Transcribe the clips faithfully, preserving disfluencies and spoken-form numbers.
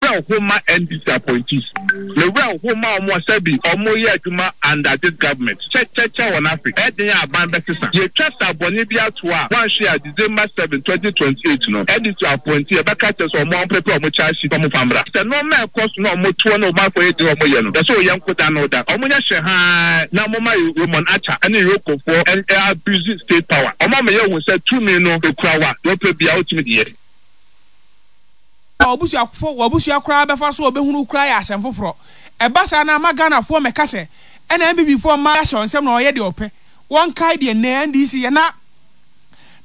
Werɛ ho ma N D C appointees, me werɛ ho ma ɔmo sɛbi ɔmo yɛ adwuma under this government. Kyɛkyɛkyɛ wɔ n'afe ɛden a aban bɛsesa, yɛtwa sa bɔne bi ato a wanhwɛ a December seven twenty twenty eight no, N D C appointee yɛbɛka kyerɛ sɛ ɔmo amprepare ɔmo charge sheet, ɔmo fa mmra sɛ nneɛma ɛkɔ so na ɔmo toɔ na ɔmo akɔ yɛ deɛ ɔmo yɛ no. Yɛsɛ ɔyɛ nkoda no da ɔmo nyɛ hyɛ haa na ɔmo ma Raymond Archer ɛne EOCOfoɔ ɛ abuse state power. Ɔmo ama yɛ hu sɛ tumi no ekura wa deɛ ɔpɛ bia ɔtumi deɛ. Wabusuafo, wabusua koraa bɛfa so ɔbɛhunu koraa yɛ asɛm foforɔ. Ɛba saa na ama Ghanafoɔ mɛka sɛ ɛna N P P foɔ mma ahyɛ wɔn nsɛm na ɔyɛ deɛ ɔpɛ. Wɔnkae deɛ nnɛ N D C yɛ na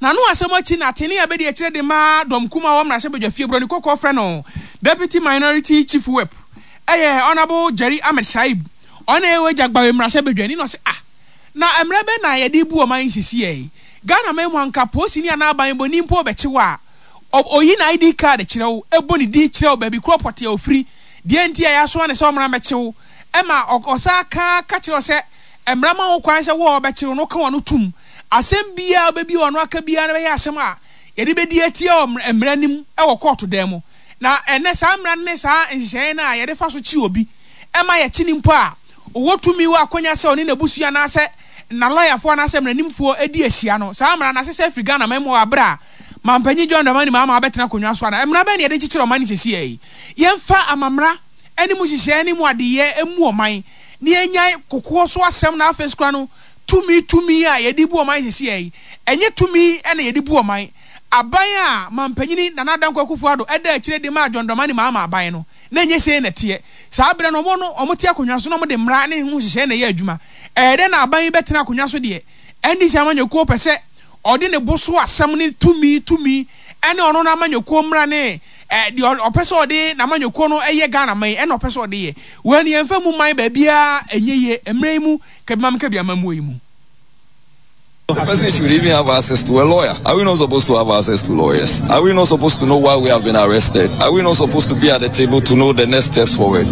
n'ano asɛm akyi na atene a bɛdi akyerɛ de ma dɔm kuma wɔ mmarahyɛbadwa fie, Buroni Kɔkɔɔ frɛ no Deputy Minority Chief Whip, ɛyɛ Honourable Jerry Ahmed Shaib. Ɔna ɛwɔ agya gbawe mmarahyɛbadwa ni na ɔsɛ, ah, na mmerɛ bɛ na yɛde bu ɔman sisi yɛ Ghana man mu anka polisi ni anaa aban bɔ ni mpo bɛkye wɔ a, oyi na I D card kyerɛ wo, ɛbɔ ne din kyerɛ wo, baabi kuro pɔte a ofiri, deɛ nti a yɛasoa ne sɛ ɔmmra mɛkye ɛma ɔsa ka ka kyerɛ sɛ mmara ma wo kwan sɛ wo a ɔbɛkyerɛ no ka wɔn no tum. Asɛm biara bɛbi ɔno aka biara no bɛyɛ asɛm a yɛde bɛdi atia wɔ mmara nim ɛwɔ kɔɔto dan mu. Na ɛnɛ saa mmara no ne saa nhyehyɛeɛ no a yɛde fa so kyi obi ɛma yɛkyi ne mpo a ɔwɔ tumi wɔ akɔnya sɛ ɔne n'abusua anaasɛ na lɔyafoɔ anaasɛ mmaranimfoɔ adi ahyia no, saa mmara no asesɛ afiri Ghana man mu wɔ abere a mampanyin John Dramani Mahama abɛtena akonnwa so. Ana mmara bɛn na yɛde kyekyere ɔman no sɛsi yi? Yɛmfa amamra ɛne mu nhyehyɛeɛ ne mu adeyɛ emu ɔman ne yɛnyae kokoɔ so asɛm. Na afei sokora no, tumi tumi a yɛde bu ɔman sɛsi yi, ɛnyɛ tumi ɛna yɛde bu ɔman. Aban a mampanyini Nana Dankwa Akufo-Addo ɛda akyire de maa John Dramani Mahama aban no na ɛnyɛ sei na ɛteɛ. Saa berɛ no, ɔmo no ɔmo te akonnwa so na ɔmo de mmara ne ho nhyehyɛeɛ na ɛyɛ adwuma. Ɛyɛ dɛ na aban yi bɛtena akonnwa so deɛ, N D C amanyɔkuo pɛ sɛ ɔde ne bo so asɛm ne tumi tumi ɛne ɔno n'amanyɔkuo mmara ne ɛ deɛ ɔpɛ sɛ ɔde n'amanyɔkuo no ɛyɛ Ghana man ɛna ɔpɛ sɛ ɔde yɛ wɔn ni. Yɛnfɛ mu man baabiara ɛnyɛ yie mmerɛ yi mu kabi kabi amamuo yi mu. The person should even have access to a lawyer. Are we not supposed to have access to lawyers? Are we not supposed to know why we have been arrested? Are we not supposed to be at the table to know the next steps forward?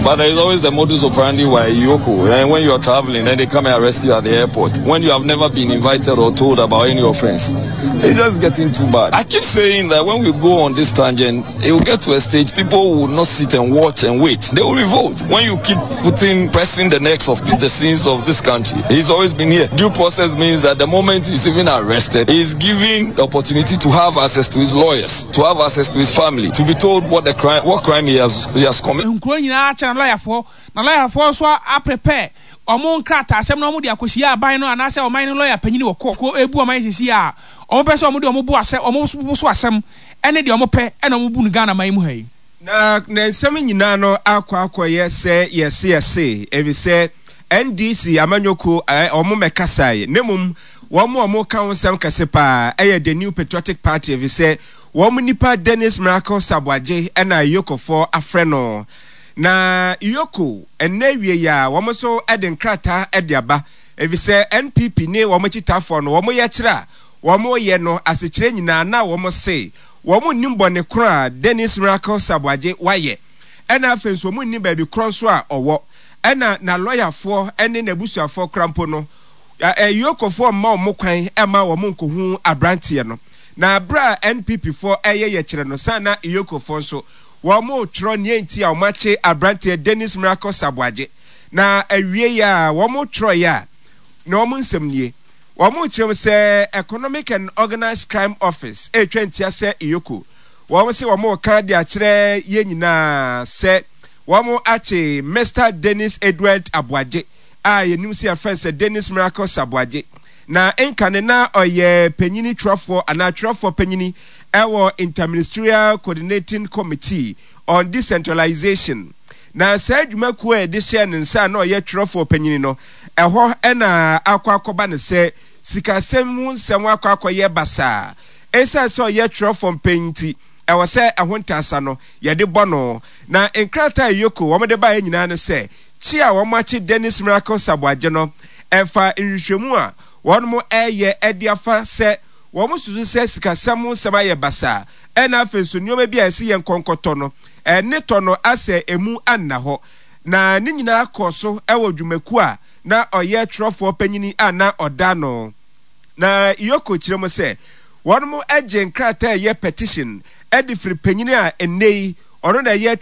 But there is always the modus operandi why EOCO. And when you are traveling, then they come and arrest you at the airport. When you have never been invited or told about any offense. It's just getting too bad. I keep saying that when we go on this tangent, it will get to a stage people will not sit and watch and wait. They will revolt. When you keep putting, pressing the necks of the sins of this country, he's always been here. Due process means that the moment he's even arrested, he's given the opportunity to have access to his lawyers, to have access to his family, to be told what the crime, what crime he has, he has committed. Nkuro nyinaa kyerɛ na lɔyafoɔ na lɔyafoɔ nso aprepare ɔmo nkrataa asɛm na ɔmo de akɔhyia aban no anaasɛ ɔman no lɔya panyin wɔ kɔ ko ebu ɔman sisi a ɔmo pɛ sɛ ɔmo de ɔmo bu asɛm, ɔmo bo so asɛm ɛne deɛ ɔmo pɛ ɛna ɔmo bu no Ghana man mu ha yi. Na na nsɛm nyinaa no akɔ akɔyɛ sɛ yɛse yɛse efisɛ N D C amanyɔkuo ɛɛ ɔmo mɛkasa yi ne mum wɔn a wɔn ka ho nsɛm kɛse paa ɛyɛ the New Patriotic Party, efisɛ wɔn nipa Dennis Miracle Saboagye ɛna EOCOfoɔ afrɛ no. Na EOCO ɛnɛ wie yi a, wɔn nso ɛde nkrataa ɛde aba, efisɛ N P P ne wɔn akyitaafoɔ no, wɔn yɛ kyerɛ a wɔn yɛ no asekyerɛ nyinaa na wɔn se wɔn nim bɔne koro a Dennis Miracle Saboagye wayɛ, ɛna afei nso wɔn nim baabi korɔ nso a ɔwɔ, ɛna na lɔyafoɔ ɛne n'abusuafoɔ kora mpo no, EOCOfoɔ mma wɔn kwan ɛma wɔn nkohu aberanteɛ no. Na abere a N P P foɔ ɛyɛ yɛkyerɛ no san na EOCOfoɔ nso wɔn twerɛ nea nti a wɔn akye aberanteɛ Dennis Miracle Saboagye. Na awie yi a wɔn twerɛ yi a, na wɔn nsɛm nie: wɔn kyerɛ mu sɛ Economic and Organised Crime Office ɛretwa ntia sɛ EOCO, wɔn sɛ wɔn ka de akyerɛ yɛn nyinaa sɛ wɔn akye Mister Dennis Edward Aboagye a yɛnim sɛ yɛfrɛ sɛ Dennis Miracle Saboagye. Na nkane na ɔyɛ panyini twerɛfoɔ anaa twerɛfoɔ panyini ɛwɔ Interministerial Coordinating Committee on Decentralization. Na saa adwumakuo a yɛde hyɛɛ ne nsa a na ɔyɛ twerɛfoɔ panyini no, ɛhɔ ɛna akɔ akɔba ne sɛ sikasɛm ho nsɛm akɔ akɔyɛ basaa. Ɛsiane sɛ ɔyɛ twerɛfoɔ mpɛn nti, ɛwɔ sɛ ɛho ntaasa no yɛde bɔ no. Na nkrataa a EOCO wɔn de baeɛ nyinaa ne sɛ kyi a wɔn akye Dennis Miracle Saboagye no, ɛfa nhwehwɛmu a wɔn ɛreyɛ ɛde afa sɛ wɔn susu sɛ sikasɛm ho nsɛm ayɛ basaa, ɛna afei nso nneɛma bi a ɛsɛ yɛn nkɔnkɔtɔ no, ɛne tɔ no asɛ emu anna hɔ. Na ne nyinaa kɔ so ɛwɔ dwumakuo a na ɔyɛ twerɛfoɔ panyini a na ɔda no. Na EOCO kyerɛ mu sɛ wɔn gye nkrataa a ɛyɛ petition ɛde firi panyini a ɛnɛ yi ɔno na ɛyɛ